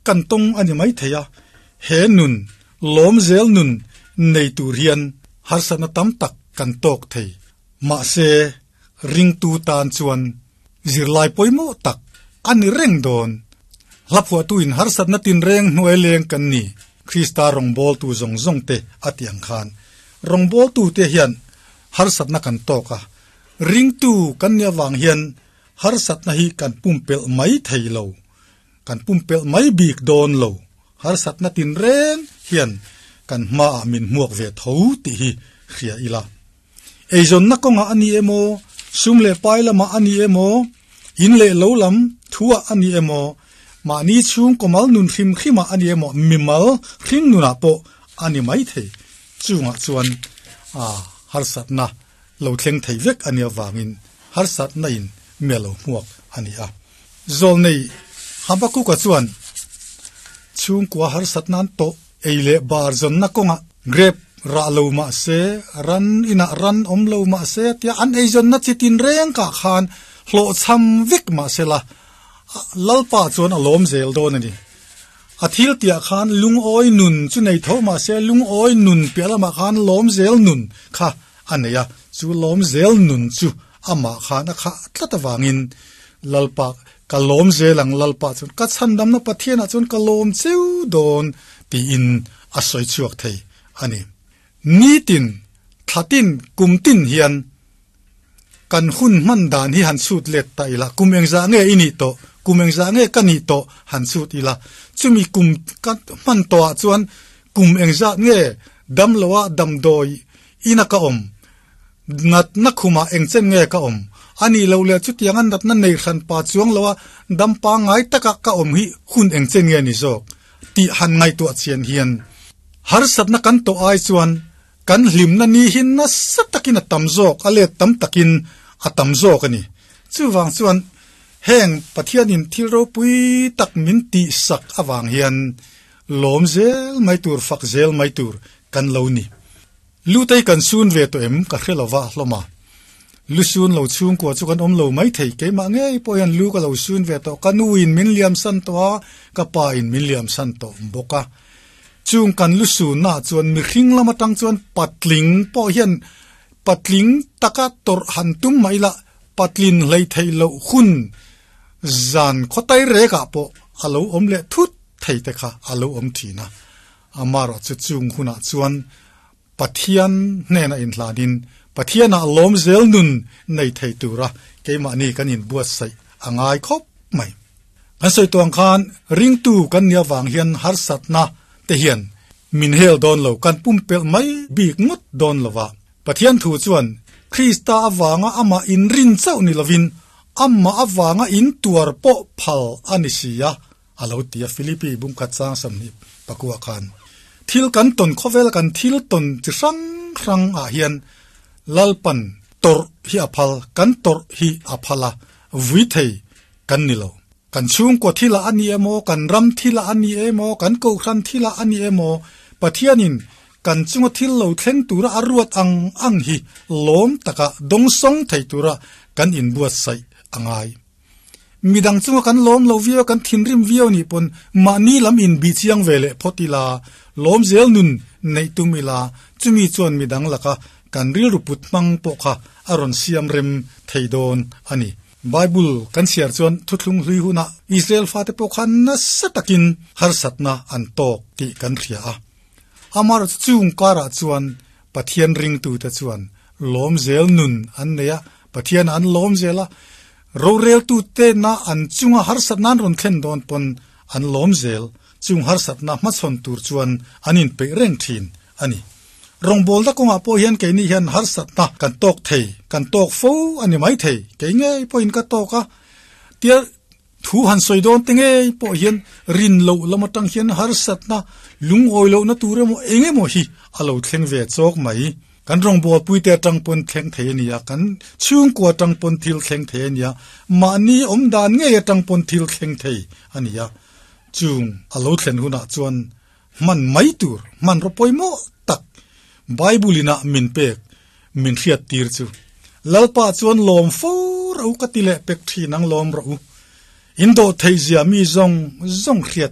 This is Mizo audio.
kan tawng a ni mai thei a, he nun, lawm zel nun nei tur hian harsatna tam tak kan tawk thei. Mahse, ringtu tan chuan zirlai pawimawh tak a ni reng dawn. Hlaphuahtuin harsatna tinreng hnuai leng kan ni, Krista rawngbawltu zawng zawng te a tih ang khan rawngbawltute hian harsatna kan tawk a, ringtu kan nih avang hian harsatna hi kan pumpelh mai thei lo, kan pumpelh mai bik dawn lo. Harsatna tinreng hian kan hmaah min hmuak ve tho tih hi hria ila. Eizawnna kawngah a ni emaw, sum leh pai lamah a ni emaw, in leh lo lam thuah a ni emaw, mahni chhung kawmal nun hrim hrimah a ni emaw, mimal hring nunah pawh a ni mai thei. Chungah chuan harsatna lo thleng thei vek a nih avangin harsatna in mi a lo hmuak a ni a. Zawlnei Habakuka chuan chhungkua harsatna an tawh ei leh bar zawnna kawngah grep rah lo mah se, ran inah ran awm lo mah se tia an eizawnna chi tinreng kah khan hlawhchham vek mah sela Lalpa chuan a lawm zel dawn a ni. A thil tiah khan lungawi nun chu nei tho mah se lungawi nun piah lamah khan lawm zel nun kha a nei a, chu lawm zel nun chu amah khan a khah tlat avangin Lalpa ka lawm zel ang Lalpa chuan ka chhandamna Pathianah chuan ka lawm cheu dawn tiin a sawi chhuak thei a ni. Nitin, thlatin, kumtin hian Kan hun hman dan hi han chhut let ta ila, kum engzah nge i nih tawh, kum engzah nge ka nih tawh han chhut ila, chumi kum ka hman tawhah chuan kum engzah nge damloa damdawi ina ka awm, natna khumah engchen nge ka awm, a nih loh leh chutianga natna nei hran pa chuang loa dam pangngai taka ka awm hi hun engchen nge ni zawk tih han ngaihtuah chian hian harsatna kan tawh ai chuan Kan hlimna ni hi nasa takin a tam zawk, a let tam takin a tam zawk a ni. Chuvang chuan heng Pathianin thil ropui tak min tihsak avang hian lawm zel mai tur, fak zel mai tur kan lo ni. Lutei kan sun ve tawh em ka hre lova hlawm a. Lu sun lo chhungkua chu kan awm lo mai thei, keimah ngei pawh hian lu ka lo sun ve tawh, ka nuin min liamsan tawh a, ka pain min liamsan tawh bawk a. Chung kan lu sunna chuan mihring lam atang chuan patling pawh hian patling taka tawrh han tum mai la, patlin hlei theih loh hun zan khawtai rekah pawh a lo awm leh thut thei te kha a lo awm thin a. Amaherawh chu chung hunah chuan Pathian hnena inhlanin Pathianah lawm zel nun nei thei tura keimahni kan inbuatsaih a ngai khawp mai. Kan sawi tuang khan ringtu kan nih avang hian harsatna te hian min hel dawn lo, kan pumpelh mai bik ngawt dawn lo va. Pathian thu chuan Krista avanga amah inrin chauh ni lovin amah avanga intuar pawh phal a ni si a, A lo ti a, Philippi bumkhat chang 20 pakua khan. Thil kan tawn khawvel kan thil tawn chi hrang hrang ah hian Lalpan tawrh hi a phal, kan tawrh hi a phal a, vui thei kan ni lo. Kan chhungkua thilah a ni emaw, kan ram thilah a ni emaw, kan kohhran thilah a ni emaw, Pathianin kan chunga thil lo thleng tura a ruat ang ang hi lawm taka dawngsawng thei tura kan inbuatsaih a ngai. Midang chunga kan lawm lo viau, kan thinrim viau nih pawn mahni lam inbih chiang ve leh phawt ila, lawm zel nun neih tum ila, chumi chuan midang laka kan rilru put hmang pawh kha a rawn siam rem thei dawn a ni. Bible kan chhiar chuan thuthlung hlui hunah Israel fate pawh khan nasa takin harsatna an tawk tih kan hria a. Amaherawhchu chung karah chuan Pathian ringtute chuan lawm zel nun an nei a, Pathian an lawm zel a, roreltute na an chunga harsatna an rawn thlen dawn pawn an lawm zel, chung harsatna hmachhawn tur chuan an inpeih reng thin a ni. Rawngbawlna kawngah pawh hian keini hian harsatna kan tawk thei, kan tawk fo a ni mai thei, kei ngei pawhin ka tawk a, tia thu han sawi dawn te ngei pawh hian rin loh lam atang hian harsatna lungawi lohna tur emaw eng emaw hi a lo thleng ve chawk mai. Kan rawngbawlpui te atang pawn thleng thei a ni a, kan chhungkua atang pawn thil thleng thei a ni a, mahni awm dan ngei atang pawn thil thleng thei a ni a. Chung a lo thlen hunah chuan hman mai tur hmanraw pawimawh tak Bible inah min pek min hriat tir chu Lalpa chuan lawm fo rawh u ka ti leh pek thin ang lawm rawh u. In dawh theih zia mi zawng zawng hriat.